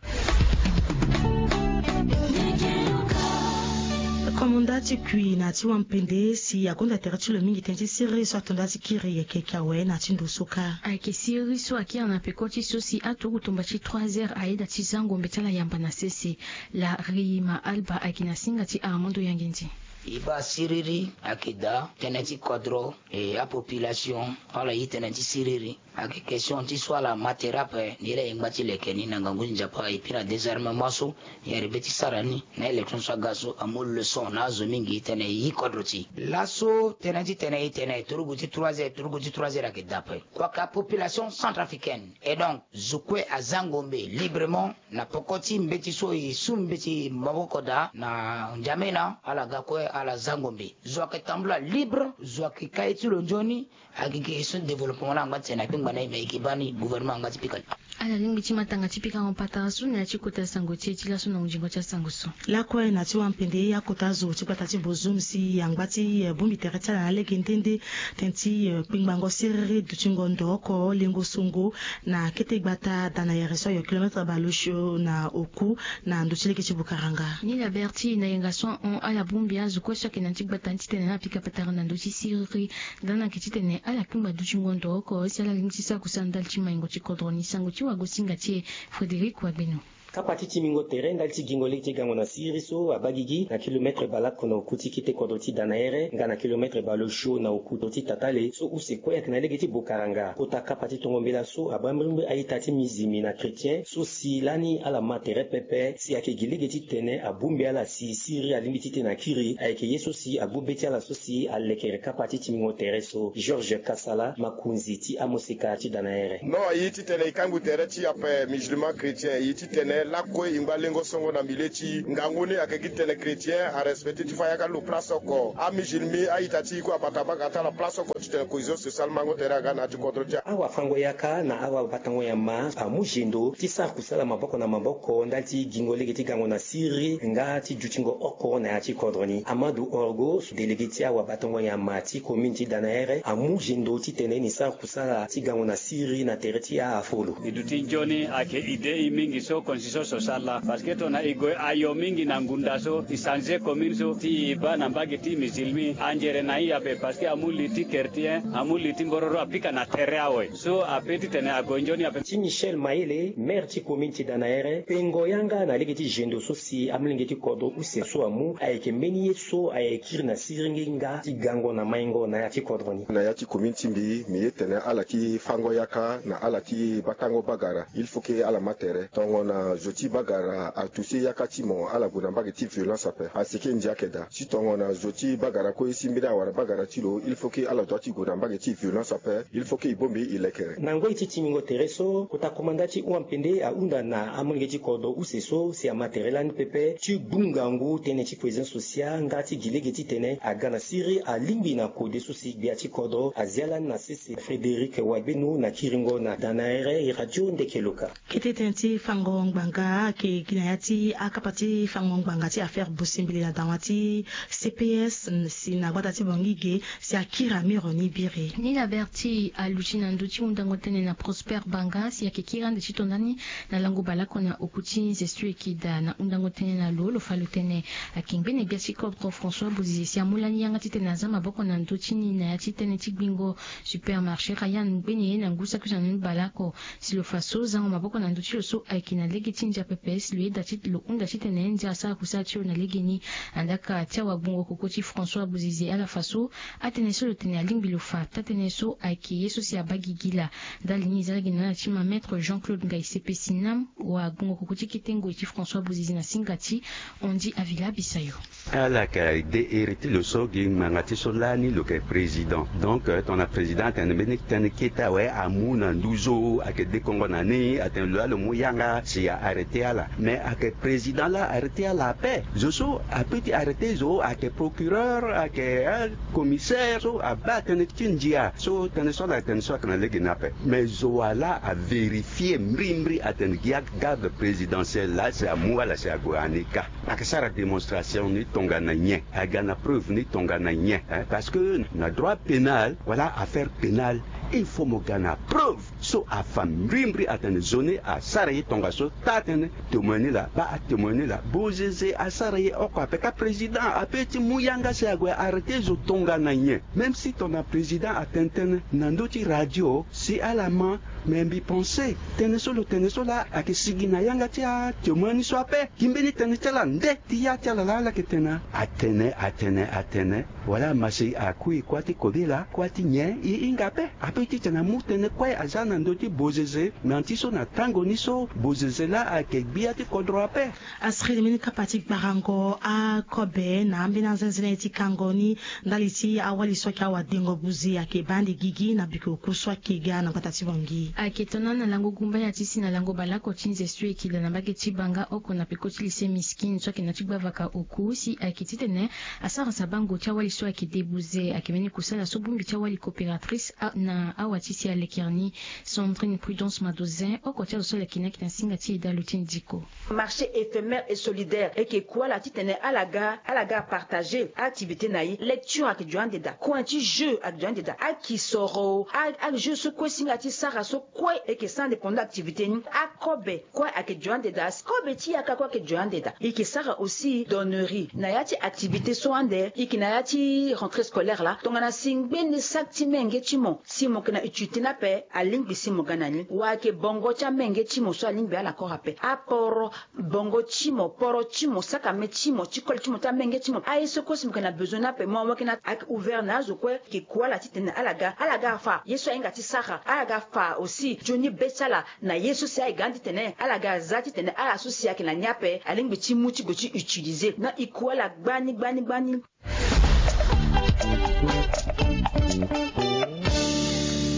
Komanda ti kui na ti wampende si akonda tere ti lo mingi tënë ti siriri so ato nda ti kiri yeke ka awe na ti ndo so kâ. Ayeke siriri so akiri na peko ti so si aturugu tumba ti trois heures ayeda ti zango mbe ti ala yamba na sese. La rima alba ayeke na singa ti armando yangendi. E baa siriri ayeke daa tënë ti kodro e apopulation ala ye tënë ti siriri. Ayeke question ti so ala ma tere ape ni laa e ngba ti leke ni na ngangu ti nzapa et puis na désarmement so e yere be ti sara ni na élection so aga so amu leçon na azo mingi titene e yi kodro ti e. Laso tënë titene e tene turugu ti trois heures turugu ti trois heures ayeke daa ape. Kua ka population centrafricaine et donc zo kue azango mbe librement na poko ti mbeti so e su mbeti maboko daa na N'Djamena ala ga kue ala zango mbe. Zo ayeke tambula libre zo ayeke ka ye ti lo nzoni. Ayeke ke so développement na angba ti tene akpengba na e me e ke baa ni gouvernement angba ti pika ni. Ala lingbi ti ma tanga ti pika ngo patara so na ya ti kota sango ti e ti laso na ngingo ti asango so. Lakue na ti wampende akota zo ti gbata ti bozum si angba ti bongbi tere ti ala na lege nde nde tënë ti kpengbango siriri dutingo ndo oko lengo songo na kete gbata daa na here so ayo kilometre baleosio na oku na ndo ti lege ti bukaranga. Ni la berti na yenga so ahon ala bongbi azo kue so ayeke na ti gbata ni titene ala pika patara na ndo ti siriri. Ndani ayeke titene ala kpengba dutingo ndo oko si ala lingbi ti sara kusala ndali ti maingo ti kodro ni sango ti wagosinga ti e. Frédéric wagbeno. Kapa ti timbingo tere ndali ti gingo lege ti gango na siriri so abaa gigi na kilometre baleoko na oku ti kete kodro ti daa na here nga na kilometre baleosio na oku ti tatale so use kue ayeke na lege ti bukaranga kota kapa ti tongo mbela so abaa mbirimbiri a-ita ti mizilmi na chrétien so si lani ala ma tere pepe si ayeke gi lege titene abongbi ala si siriri alingbi titene akiri ayeke ye so si agbu be ti ala so si alekere kapa ti timbingo tere so. Georges kasala makonzi ti amoseka ti daa na here. Non aye titene e kangbi tere ti ape musulman chrétien e ye titene lakue e ngba lengo songo na milieu ti ngangu ni ayeke gi titene chrétien arespecte ti fa yaka ti lo place oko amusulmi a-ita ti e kue abata banga ti ala place oko titene cohésion sociale mango tere aga na ya ti kodro ti. Awafango yaka na awabatango nyama amu zendo ti sara kusala maboko na maboko ndali ti gingo lege ti gango na siriri nga ti dutingo oko na ya ti kodro ni. Amadu orgo délégué ti awabatango nyama ti commune ti daa na here amu zendo titene ni sara kusala ti gango na siriri na tere ti afolo. E duti nzoni ayeke idée e mingi so constitution sociale laa parce que tongana e gue ayo mingi na ngunda so e changer commune so ti e baa na mbage ti musulmi anzere na e ape parce que amu li ti chrétien amu li ti mbororo apika na tere awe so ape titene ague nzoni ape. Ti michel mayele maire ti commune ti daa na here pengo yanga na lege ti zendo so si amolenge ti kodro use so amu ayeke mbeni ye so ayeke kiri na siringi nga ti gango na maingo na ya ti kodro ni. Na ya ti commune ti mbi mbi ye tene ala ti fango yaka na ala ti batango bagara il faut ke ala ma tere tongana zo ti bagara atouche yaka ti mo ala gue na mbage ti violence ape aseke ndia ayeke daa si tongana zo ti bagara kue si mbeni awara bagara ti lo il faut ke ala dua ti gue na mbage ti violence ape. Il faut ke e bongbi e lekere. Na ngoi ti timbingo tere so kota komanda ti huampende ahunda na amolenge ti kodro use so si ama tere lani pepe ti gbu ngangu tënë ti cohésion sociale nga ti gi lege titene aga na siriri alingbi na kode so si gbia ti kodro azia lani na sese. Frédéric wagbeno na kiringo na daa na here radio ndeke loka. Kete tënë ti fango ngbanga ayeke gi na ya ti akapa ti fango ngbanga ti affaire bosimbili na dawa ti cps si na gbata ti bongi ge si akiri amiro ni biri. Ni la berti aluti na ndö ti hundango tënë na prosper banga si ayeke kiri ande ti to ndani na lango baleoko na oku ti nzestu eki daa na hundango tënë na lo lo fa lo tene ayeke ngbene gbia ti kodro françois bozize si amu lani yanga titene aza maboko na ndö ti ni na ya ti tënë ti gbingo supermarché rayan ngbene ye na ngu saki so na ni baleoko. Si lo fa so zango maboko na ndö ti lo so ayeke na lege ti ndia pepe si lo yeda ti lo hunda titene ndia asara kusala ti lo na legeni. Andaka ti awagbongo koko ti François Bouzizi ala fa so atënë so lo tene alingbi lo fa taa-tënë so ayeke ye so si abaa gigi laa. Ndali ni e za lege na ala ti ma Maître Jean Claude Ngai Sepe Sinam, wagbongo koko ti kete ngoi ti François Bouzizi na singa ti Ondi Avila Bisayo. Ala yeke de iri ti lo so gi ngbanga ti so lani lo yeke président. Donc tongana président atene mbeni tënë kete awe amu na nduzu ayeke dekongo na ni atene lo laa lo mu yanga si a arrêté ala. Mais ayeke président laa arrêté ala ape. Zo so apeut ti arrêté zo ayeke procureur, ayeke commissaire so abaa tënë ti ndia so tënë so ala tene so ayeke na lege ni ape. Mais zo wa laa avérifié mbrimbri atene gi agarde présidentielle laa si amu ala si ague na ni kâ. Ayeke sara démonstration ni tongana nyen? Aga na preuve ni tongana nyen? Parce que na droit pénal wala affaire pénale, il faut mo ga na preuve so afa mbrimbri atene zo ni asara ye tongaso. Taa-tënë témoin ni laa, baa atémoin ni laa. Bozeze asara ye oko ape kâ. Président apeut ti mu yanga si ague arrêté zo tongana nyen? Même si tongana président atene tënë na ndö ti radio si ala ma, mais mbi pensé tënë so lo tene so laa ayeke sigi na yanga ti atémoin ni so ape. Gi mbeni tënë ti ala nde ti ya ti ala laa ala yeke tene atene atene atene wala ama si akui kuâ ti kobela kuâ ti nyen? E hinga ape. Apeut titene amu tënë kue aza na ndö ti Bozeze. Na ya ti so na tango ni so Bozeze laa ayeke gbia ti kodro ape. Asiri mbeni kapa ti gbarango akobe na ambeni anzenze ni ti kango ni ndali ti awali so ayeke awadengo buze ayeke baa ande gigi na bikoko so ayeke ga na gbata ti Bangui. Ayeke tongana na lango gumba ya ti si na lango baleoko ti nze so e yeke daa na mbage ti Banga oko na peko ti lycée Miskine so ayeke na ya ti gbavaka oku si ayeke titene asara sabango ti awali so ayeke de buze. Ayeke mbeni kusala so bongbi ti awali coopératrice na awa ti si alekere ni. Sandrine Prudence Madozin oko ti azo so aleke ni ayeke na singa ti e daa lo ti ndiko. Marché éphémère et solidaire e yeke ku ala titene ala ga ala ga apartager activité na e. Lecture ayeke dio ande daa, coin ti jeu ayeke dio ande daa, akisoro, ajeu so kue singa ti sara so kue e yeke sara ande pendant activité ni. Akobe kue ayeke dio ande daa, kobe ti yaka kue ayeke dio ande daa. E yeke sara aussi donnerie na ya ti activité so ande e yeke na ya ti rentrée scolaire laa. Tongana si ngbene saki ti menge ti mo si mo yeke na utilité ni ape, alingbi si mo ga na ni. Wa ayeke bongo ti amenge ti mo so alingbi ala kora ape. Aporo bongo ti mo, poro ti mo, sakame ti mo ti koli ti mo ti amenge ti mo, aye so kue si mo yeke na besoin ni ape mo mo yeke na ayeke ouvert na azo kue. Yeke ku ala titene ala ga ala ga afa ye so ahinga ti sara, ala ga afa aussi nzoni be ti ala na ye so si aye ga ni titene ala ga aza titene ala so si ayeke na ni ape alingbi ti mu ti gue ti utiliser. Na e ku ala gbani gbani gbani.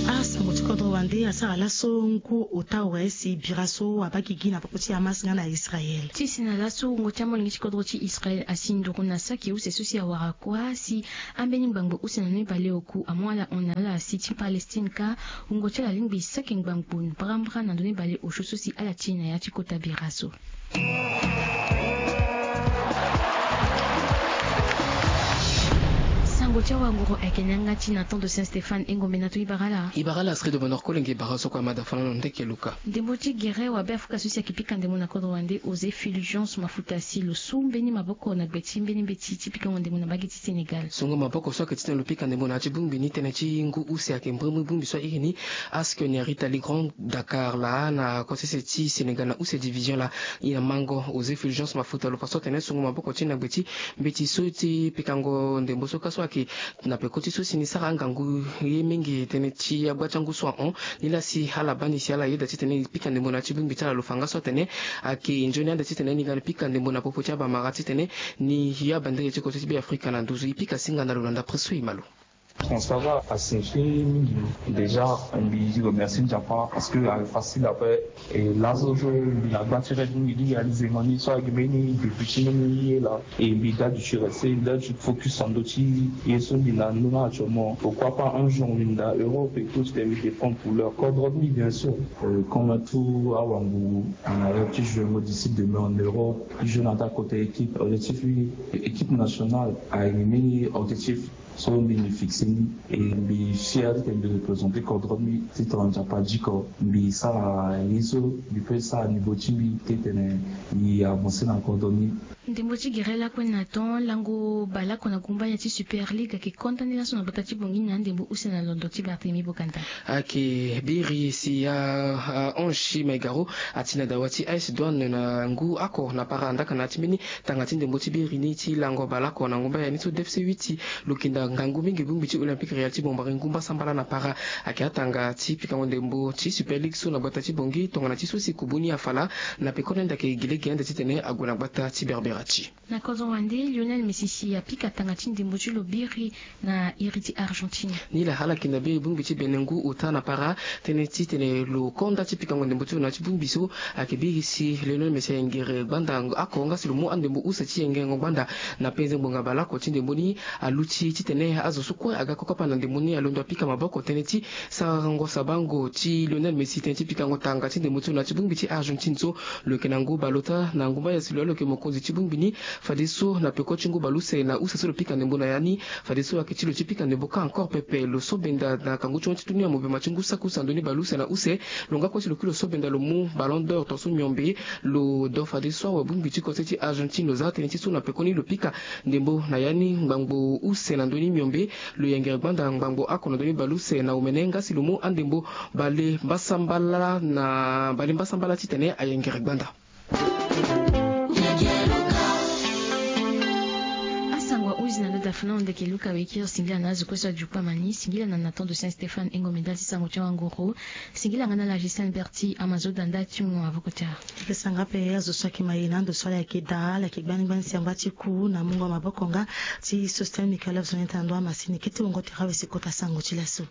Asango ti kodro wande asara laso ngu ota awe si bira so abaa gigi na peko ti Hamas nga na Israël. Ti si na laso wungo ti amolenge ti kodro ti Israël asi nduru na saki use so si awara kuâ si ambeni ngbangbo use na ni baleoku amu ala hon na ala si ti Palestine kâ. Wungo ti ala alingbi saki ngbangbo mbrambra na ndö ni baleosio so si ala ti na ya ti kota bira so. Sango ti awanguru ayeke ni yanga ti na temps de Saint Stéphane e ngombe na to e bara ala. E bara ala Astrid Bonheur Kolenge bara so kue amada fana na ndeke luka. Ndembo ti gere wabe afuka so si ayeke pika ndembo na kodro wande José Fulgence Mafuta si lo su mbeni maboko na gbe ti mbeni mbeti ti pikango ndembo na mbage ti Sénégal. Sungo maboko so ayeke titene lo pika ndembo na ya ti bongbi ni tënë ti ngu use ayeke mbrimbri bongbi so airi ni. Aske ni arita li Grand Dakar laa na kosese ti Sénégal na use division laa. E na mango José Fulgence Mafuta lo fa so atene sungo maboko ti e na gbe ti mbeti so ti pikango ndembo so kâ so ayeke na peko ti so si ni sara angangu ye mingi tënë ti agba ti angu so ahon. Nilaa si ala baa ni si ala yeda titene e pika ndembo na ya ti bongbi ti ala lo fa nga so atene ayeke nzoni ande titene ni ga ni pika ndembo na popo ti abamara titene ni ya bandege ti kote ti Beafrika na nduzu e pika singa na lo na ndapre so e ma lo. Transava asignifie mingi déjà. Mbi remercie Nzapa parce que ayeke facile ape. E laso so mbi na gba ti rêve ni mbi réalisé mo ni so ayeke mbeni début ti mbeni ye laa. E mbi daju ti reste mbi daju ti focus na ndö ti ye so mbi na ndö ni actuellement. Pourquoi pas un jour mbi na Europe et tout, mbi dépend pour leur code rugby bien sûr. Comme tout awanguru na rêve ti jouer mo d'ici demain en Europe, jouer na ta côté équipe, objectif ni équipe nationale ayeke mbeni objectif. So mbi ni fixe ni, e mbi fier titene mbi représenter kodro ti mbi ti tongana Nzapa diko. Mbi sara ye so mbi peut sara niveau ti mbi titene mbi avancer na kodro ni. Ndembo ti gere lakue na temps lango baleoko na gumbaya ti Super League ayeke condamné laso na gbata ti Bangui na ndembo use na londo ti Barthélemy Boganda. Ayeke biri si ahonche Maigaro ati na dawa ti A S Douane na ngu oko na para andaka na ya ti mbeni tanga ti ndembo ti biri ni ti lango baleoko na gumbaya ni so D F C huit lo yeke nda ngangu mingi bongbi ti Olympique Royal ti Bambari ngu mbasambala na para. Ayeke atanga ti pikango ndembo ti Super League so na gbata ti Bangui tongana ti so si kubu ni afala na pekoni ande ayeke gi lege ande titene ague na gbata ti Berbera ti. Na kodro wande, Lionel Messi si apika tanga ti ndembo ti lo biri na iri ti Argentine. Nilaa ala yeke na biri bongbi ti bene ngu ota na para tënë titene lo konda ti pikango ndembo ti lo na ya ti bongbi so. Ayeke biri si Lionel Messi ayengere gbanda oko nga si lo mu andembo use ti yengerengo gbanda na penze ngbonga baleoko ti ndembo ni. Aluti titene azo so kue aga kokapa na ndembo ni alondo apika maboko tënë ti sarango sabango ti Lionel Messi tënë ti pikango tanga ti ndembo ti lo na ya ti bongbi ti Argentine so. Lo yeke na ngu baleota na ngu mbaya si lo ya lo yeke mokonzi ti bongbi ni. Fadeso na peko ti ngu baleuse na use so lo pika ndembo na ya ni, fadeso ayeke ti lo ti pika ndembo kâ encore pepe. Lo so benda na kangu ti hon ti tuni amobema ti ngu saki use na ndö ni baleuse na use. Lo nga kue si lo kiri lo so benda lo mu Ballon d'Or tongaso miombe. Lo do fadeso awe bongbi ti kose ti Argentine lo za tënë ti so na pekoni lo pika ndembo na ya ni ngbangbo use na ndö ni miombe. Lo yengere gbanda ngbangbo oko na ndö ni baleuse na omene nga si lo mu andembo bale mbasambala na bale mbasambala titene ayengere gbanda. Asango ahunzi na ndo dafuna na ndeke Luka Wekir. Singila na azo kue so ajuku amani. Singila na Nathan de Saint Stéphane Engomenda ti sango ti awanguru. Singila nga na la Gisèle Berti amazoda nda ti mungo maboko ti ara. Yeke sanga ape azo so ayeke maye na ando so ala yeke daa ala yeke gbani gbani si angba ti ku na mungo maboko nga ti Sosthène Michael azo neta ndo amasini kete wongo tere awe si kota sango ti laso.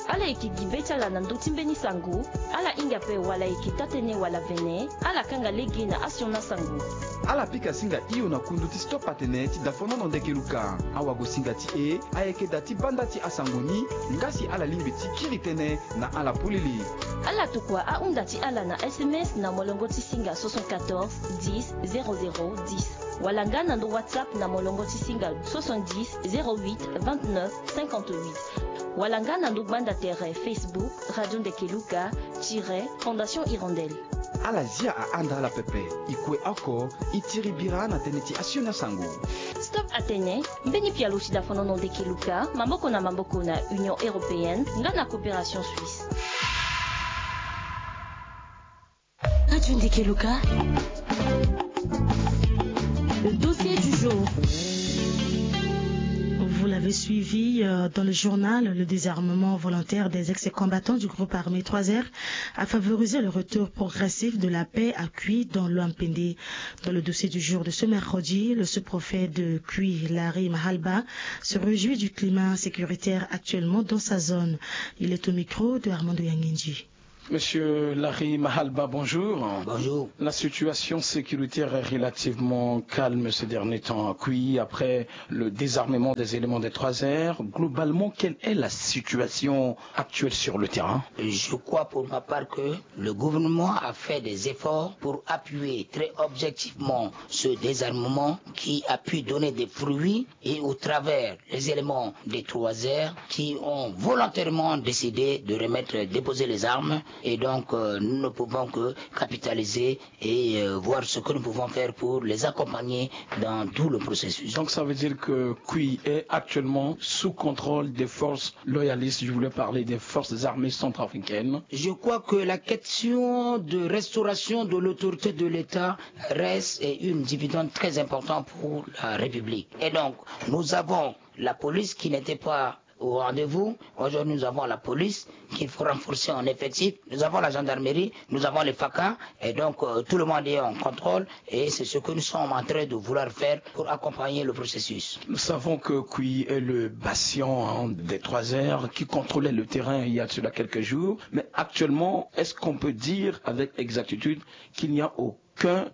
Ala yeke gi be ti ala na ndö ti mbeni sango. Ala hinga ape wala e yeke taa-tënë wala vene, ala kanga lege na asioni asango. Ala pika singa hio na kundu ti Stop Atene ti dafonono ndeke Luka. Awagosinga ti e ayeke da ti banda ti asango ni, nga si ala lingbi ti kiri tënë na ala polele. Ala tokua ahunda ti ala na S M S na molongo ti singa soixante-quatorze dix zéro zéro dix. Wala nga na ndo WhatsApp na molongo ti singa soixante-dix zéro huit vingt-neuf cinquante-huit. Wala nga na ndo gbanda tere Facebook Radio Ndeke Luka tiret Fondation Hirondelle. Ala zia ahanda ala pepe, e kue oko, e tiri bira na tënë ti asioni asango. Stop Atene, mbeni pialo ti dafonono ndeke Luka, maboko na maboko na Union Européenne, nga na Coopération Suisse. Radio Ndeke Luka. Le dossier du jour. Vous l'avez suivi, euh, dans le journal, le désarmement volontaire des ex-combattants du groupe armé trois R a favorisé le retour progressif de la paix à Kui dans l'Ouham-Pendé. Dans le dossier du jour de ce mercredi, le sous-préfet de Kui, Larry Mahalba, se réjouit du climat sécuritaire actuellement dans sa zone. Il est au micro de Armando Yangendji. Monsieur Larry Mahalba, bonjour. Bonjour. La situation sécuritaire est relativement calme ces derniers temps à Kui, après le désarmement des éléments des trois R. Globalement, quelle est la situation actuelle sur le terrain ? Je crois pour ma part que le gouvernement a fait des efforts pour appuyer très objectivement ce désarmement qui a pu donner des fruits et au travers les éléments des trois R qui ont volontairement décidé de remettre, déposer les armes. Et donc, euh, nous ne pouvons que capitaliser et, euh, voir ce que nous pouvons faire pour les accompagner dans tout le processus. Donc, ça veut dire que Kui est actuellement sous contrôle des forces loyalistes, je voulais parler des forces armées centrafricaines. Je crois que la question de restauration de l'autorité de l'État reste une dividende très importante pour la République. Et donc, nous avons la police qui n'était pas au rendez-vous. Aujourd'hui, nous avons la police qu'il faut renforcer en effectif. Nous avons la gendarmerie, nous avons les FACA. Et donc, euh, tout le monde est en contrôle. Et c'est ce que nous sommes en train de vouloir faire pour accompagner le processus. Nous savons que Kui est le bastion, hein, des trois R qui contrôlait le terrain il y a de cela quelques jours. Mais actuellement, est-ce qu'on peut dire avec exactitude qu'il n'y a aucun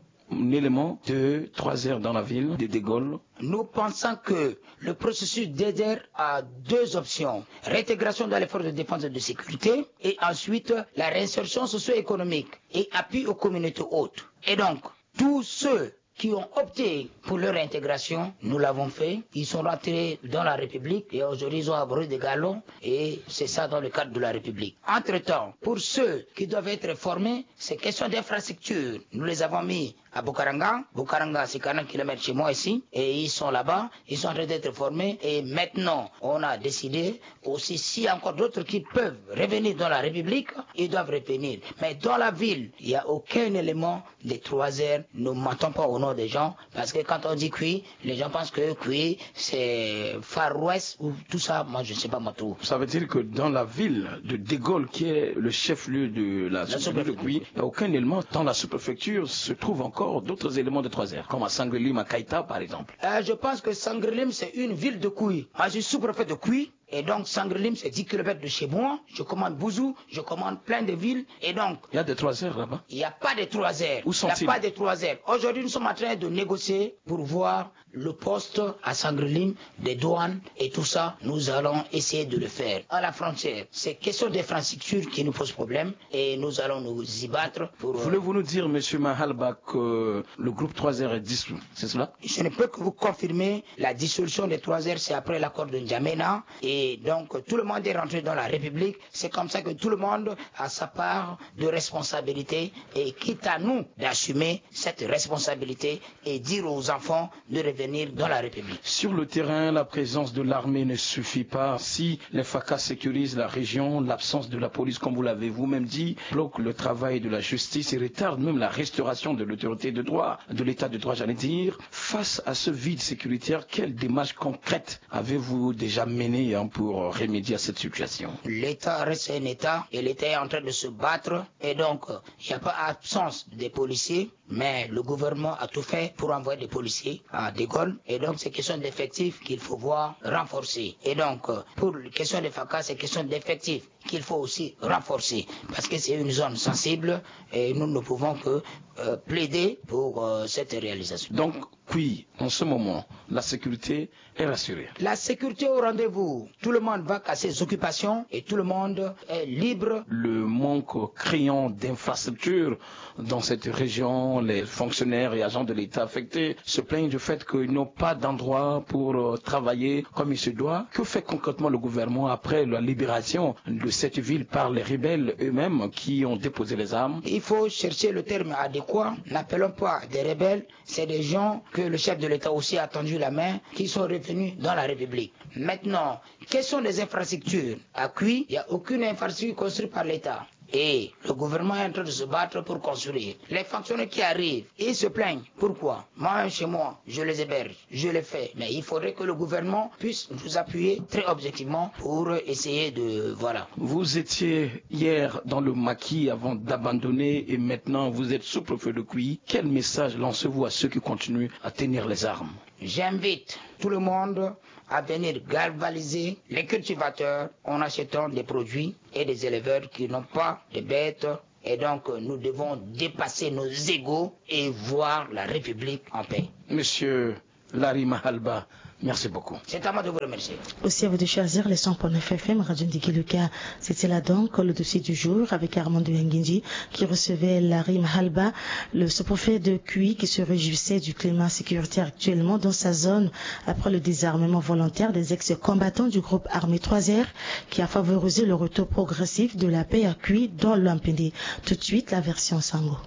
élément de trois R dans la ville de De Gaulle ? Nous pensons que le processus D D R a deux options. Réintégration dans les forces de défense et de sécurité et ensuite la réinsertion socio-économique et appui aux communautés hôtes. Et donc, tous ceux qui ont opté pour leur intégration, nous l'avons fait. Ils sont rentrés dans la République et aujourd'hui, ils ont abreuvé des galons et c'est ça dans le cadre de la République. Entre-temps, pour ceux qui doivent être formés, ces questions d'infrastructure, nous les avons mis à Bukaranga. Bukaranga, c'est quarante kilomètres chez moi ici. Et ils sont là-bas, ils sont en train d'être formés. Et maintenant, on a décidé aussi, s'il y a encore d'autres qui peuvent revenir dans la République, ils doivent revenir. Mais dans la ville, il n'y a aucun élément des trois R. Ne mentons pas au nom des gens, parce que quand on dit Kwi, les gens pensent que Kwi, c'est Far West ou tout ça. Moi, je ne sais pas, moi, tout. Ça veut dire que dans la ville de De Gaulle, qui est le chef-lieu de la sous-préfecture de Kwi, il n'y a aucun élément. Dans la sous-préfecture se trouvent encore d'autres éléments de trois R, comme à Sangrelim, à Kaita, par exemple. Euh, je pense que Sangrelim, c'est une ville de Kwi. Moi, je suis sous-préfet de Kwi. Et donc, Sangrelim, c'est dix kilomètres de chez moi. Je commande Bouzou, je commande plein de villes. Et donc, il y a des trois R là-bas. Il n'y a pas de trois R. Où sont-ils ? Il n'y a pas de trois R. Aujourd'hui, nous sommes en train de négocier pour voir le poste à Sangrelim, des douanes et tout ça. Nous allons essayer de le faire. À la frontière, c'est question d'infrastructure qui nous pose problème et nous allons nous y battre pour, euh, Voulez-vous nous dire, monsieur Mahalba, que le groupe trois R est dissous, c'est cela ? Je ne peux que vous confirmer la dissolution des trois R, c'est après l'accord de N'Djamena. Et donc, tout le monde est rentré dans la République. C'est comme ça que tout le monde a sa part de responsabilité et quitte à nous d'assumer cette responsabilité et dire aux enfants de revenir dans la République. Sur le terrain, la présence de l'armée ne suffit pas. Si les FACA sécurisent la région, l'absence de la police, comme vous l'avez vous-même dit, bloque le travail de la justice et retarde même la restauration de l'autorité de droit, de l'état de droit, j'allais dire. Face à ce vide sécuritaire, quelle démarche concrète avez-vous déjà menée, hein, pour remédier à cette situation ? L'État reste un État et l'État est en train de se battre. Et donc, il n'y a pas absence des policiers, mais le gouvernement a tout fait pour envoyer des policiers à De Gaulle. Et donc, c'est question d'effectifs qu'il faut voir renforcer. Et donc, euh, pour la question des FACA, c'est question d'effectifs qu'il faut aussi renforcer, parce que c'est une zone sensible et nous ne pouvons que, euh, plaider pour, euh, cette réalisation. Donc, Kwi, en ce moment, la sécurité est rassurée. La sécurité au rendez-vous. Tout le monde va à ses occupations et tout le monde est libre. Le manque criant d'infrastructures dans cette région, les fonctionnaires et agents de l'État affectés se plaignent du fait qu'ils n'ont pas d'endroit pour, euh, travailler comme il se doit. Que fait concrètement le gouvernement après la libération de cette ville par les rebelles eux-mêmes qui ont déposé les armes ? Il faut chercher le terme adéquat. N'appelons pas des rebelles. C'est des gens que le chef de l'État aussi a tendu la main, qui sont revenus dans la République. Maintenant, question des infrastructures. À Kwi, il n'y a aucune infrastructure construite par l'État. Et le gouvernement est en train de se battre pour construire. Les fonctionnaires qui arrivent, ils se plaignent. Pourquoi ? Moi, chez moi, je les héberge, je les fais. Mais il faudrait que le gouvernement puisse nous appuyer très objectivement pour essayer de, voilà. Vous étiez hier dans le maquis avant d'abandonner et maintenant vous êtes sous-préfet de Kwi. Quel message lancez-vous à ceux qui continuent à tenir les armes ? J'invite tout le monde à venir galvaniser les cultivateurs en achetant des produits et des éleveurs qui n'ont pas de bêtes. Et donc, nous devons dépasser nos égos et voir la République en paix. Monsieur Larry Mahalba, merci beaucoup. C'est à moi de vous remercier. Aussi à vous de choisir les cent point neuf F M Radio Ndiki Luka. C'était là donc le dossier du jour avec Armando Yangindi qui recevait Larry Mahalba, le sous-préfet de Kwi, qui se réjouissait du climat sécuritaire actuellement dans sa zone après le désarmement volontaire des ex-combattants du groupe armé trois R qui a favorisé le retour progressif de la paix à Kwi dans l'Ampende. Tout de suite, la version Sango.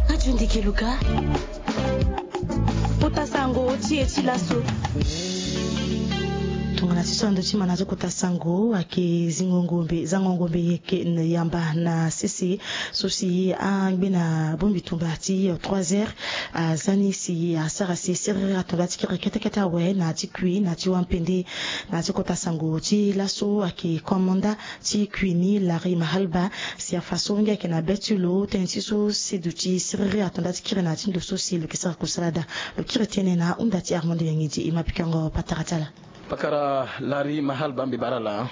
Radio Ndiki Luka. Kota sango ti e ti laso. Tongana ti so ando ti ma na zo kota sango ayeke zingo ngombe, zango ngombe yeke yamba na sese so si angbi na bongbi tumba ti trois heures aza ni si asara si siriri ato nda ti kiri kete kete awe na ti Kwi na ti Wampende. Na ti kota sango ti laso ayeke komanda ti Kwi ni Larry Mahalba si afa so ngia ayeke na be ti lo tënë ti so si duti siriri ato nda ti kiri na ti ndo so si lo yeke sara kusala daa. Lo kiri tënë na hunda ti Armando Yangidi. E ma pikango patara ti ala. Pakara Larry Mahal, baa mbi bara ala.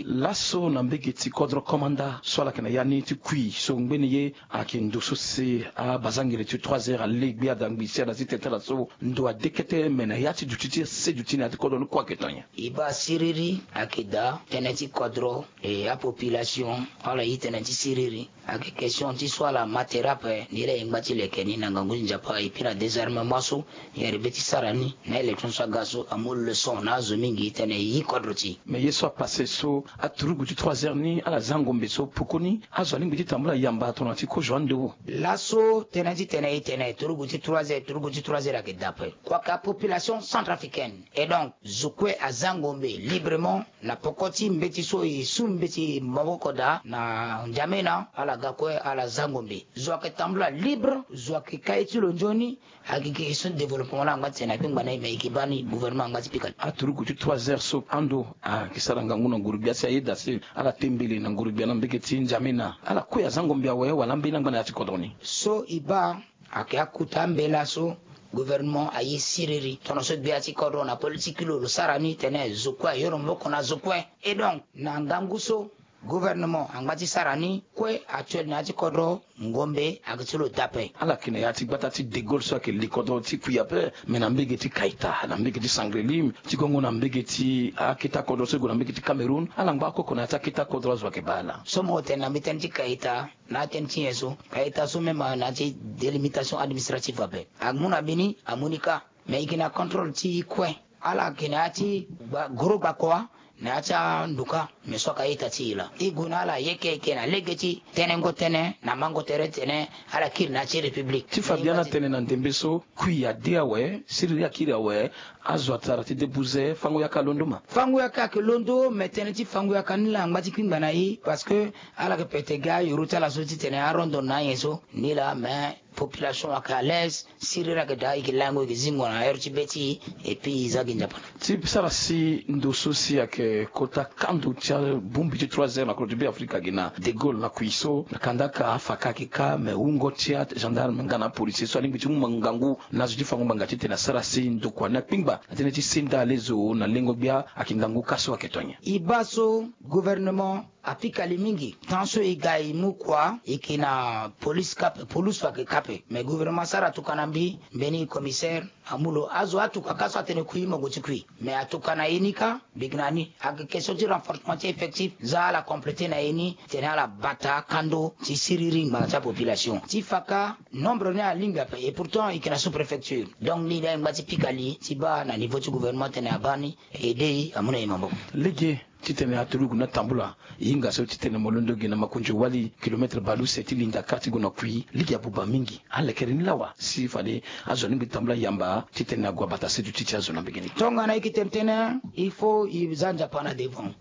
Laso na mbege ti kodro komanda so ala yeke na ya ni ti kui so ngbeni ye ayeke ndo so si abazangele ti trois heures ale gbia da ngbi si ada ti tene ti ala so ndo ade kete me na ya ti duti ti ase duti na ya ti kodro ni kue ayeke to nyen? E baa siriri ayeke daa tënë ti kodro, e apopulation ala ye tënë ti siriri. Ayeke question ti so ala ma tere ape, nilaa e ngba ti leke ni na ngangu ti Nzapa, et puis na désarmement so e arrivé ti sara ni na élection so aga so amu leçon na azo mingi titene e yi kodro ti e. Mais ye so apasse so, aturugu ti trois heures ni ala za ngombe so pokoni azo alingbi ti tambula yamba tongana ti kozo ando. Laso tënë titene e tene turugu ti trois heures, turugu ti trois heures ayeke daa ape. Kua ka population centrafricaine, et donc zo kue aza ngombe librement na poko ti mbeti so e su mbeti maboko daa na N'Djamena, ala ga kue ala za ngombe. Zo ayeke tambula libre, zo ayeke ka ye ti lo nzoni. Ayeke question ti développement laa angba ti tene na kpingba na e, me e yeke baa ni gouvernement angba ti pika li. Aturugu ti trois heures so ando ayeke sara ngangu na nguru-gbia si ayeda si ala te mbele na nguru-gbia na mbege ti N'Djamena, ala kue aza ngombe awe wala ambeni angba na ya ti kodro ni? So e baa ayeke akota ambeni laso gouvernement aye siriri tongana so gbia ti kodro na politique ti lo lo sara ni tene zo kue ayoro maboko na zo kue. Et donc na ngangu so gouvernement angba ti sara ni kue actuel na ya ti kodro ngombe ayeke ti lo daa ape. Ala yeke na ya ti gbata ti De Gaulle so ayeke li kodro ti kui ape, me na mbege ti Kaita, na mbege ti Sangreli, ti gongo na mbege ti aketa kodro so e gue na mbege ti Cameroun, ala ngba akoko na ya ti aketa kodro azo ayeke baa ala. So mo tene na mbeti tënë ti Kaita, na atënë ti nyen so? Kaita so même na ya ti délimitation administrative ape. Amu na mbeni, amu ni kâ. Mais e yeke na contrôle ti e kue. Ala yeke na ya ti gba, goro gbakua na ya ti anduka, mais so ayeke a-ita ti e laa. E gue na ala ayeke, ayeke na lege ti tenengo tënë na mango tere ti tene ala kiri na ya ti république. Ti fa biani atene na ndembe so, kui ade awe, siriri akiri awe, azo atara ti debuze, fango yaka alondo ma? Fango yaka ayeke londo, mais tënë ti fango yaka ni laa angba ti kpingba na e, parce que ala yeke pete ga ayoro ti ala so titene arondo na anyen so ni laa, mais population ayeke à l'aise, siriri ayeke daa, e yeke lango, e yeke zingo na heure ti be ti e, et puis e za gi Nzapa na. Ti sara si ndo so si ayeke kota kando ti abongbi ti trois heures na kodro ti Beafrika gi na De Gaulle na kui so, na kandaka afaka ayeke kâ, me wungo ti agendarme nga na apolisier so alingbi ti mu ngangu na azo ti fango ngbanga titene asara si ndokua ni akpingba na tënë ti senda alezo na lengo gbia, ayeke ngangu kâ so ayeke to nyen? E baa so gouvernement apika li mingi. Temps so e ga e mu kua, e yeke na police kâ ape, police so ayeke kâ ape. Mais gouvernement asara tuka na mbi, mbeni commissaire amu lo, azo atuka kâ so atene kui mo gue ti kui. Mais atuka na e ni kâ, mbi yeke na ni. Ayeke question ti renforcement ti effectif, za ala compléter na e ni, titene ala bata kando ti siriri ngbanga ti apopulation. Ti fa kâ, nombre ni alingbi ape, et pourtant e yeke na sous-préfecture. Donc ni laa e ngba ti pika li ti baa na niveau ti gouvernement titene abaa ni, aider e, amu na e maboko. Lege titene aturugu ni atambula, e hinga so titene mo londo gi na makonzi wali, kilomètre bale use ti linda kâ ti gue na kui, lege abuba mingi. Alekere ni lawa si fade azo alingbi ti tambula yamba titene ague abata seduti ti azo na mbege ni. Tongana e yeke tene tënë, il faut e za Nzapa na devant.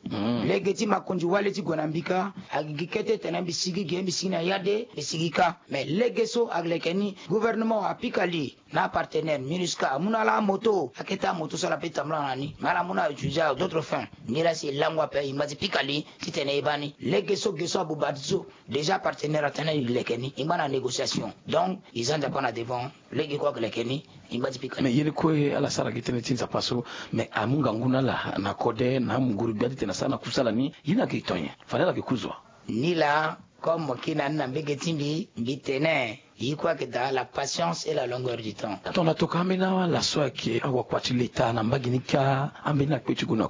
Lege ti makonzi wali ti gue na mbi kâ, ayeke gi kete tene mbi sigi ge, mbi sigi na yade, mbi sigi kâ. Mais lege so aleke ni, gouvernement apika li na apartenaire MINUSCA amu na ala amoto, akete amoto so ala peut tambula na ni, me ala mu na utiliser à d'autres fins. Nilaa si e lango ape, e ngba ti pika li titene e baa ni. Lege so ge so abuba ti so, déjà apartenaire atene e leke ni, e ngba na négociation. Donc e za Nzapa na devant. Lege kue ayeke leke ni, e ngba ti pika li. Mais ye ni kue ala sara gi tënë ti Nzapa so, mais amu ngangu na ala na kode na amunguru gbia titene asara na kusala ni, ye ni ayeke to nyen? Fade ala yeke ku zo wa? Nilaa, comme mo kiri na ni na mbege ti mbi, mbi tene, ye kue ayeke daa, la patience et la longueur du temps. Tongana tokua ambeni ala so ayeke awakua ti leta na mbage ni kâ, ambeni akpe ti gue na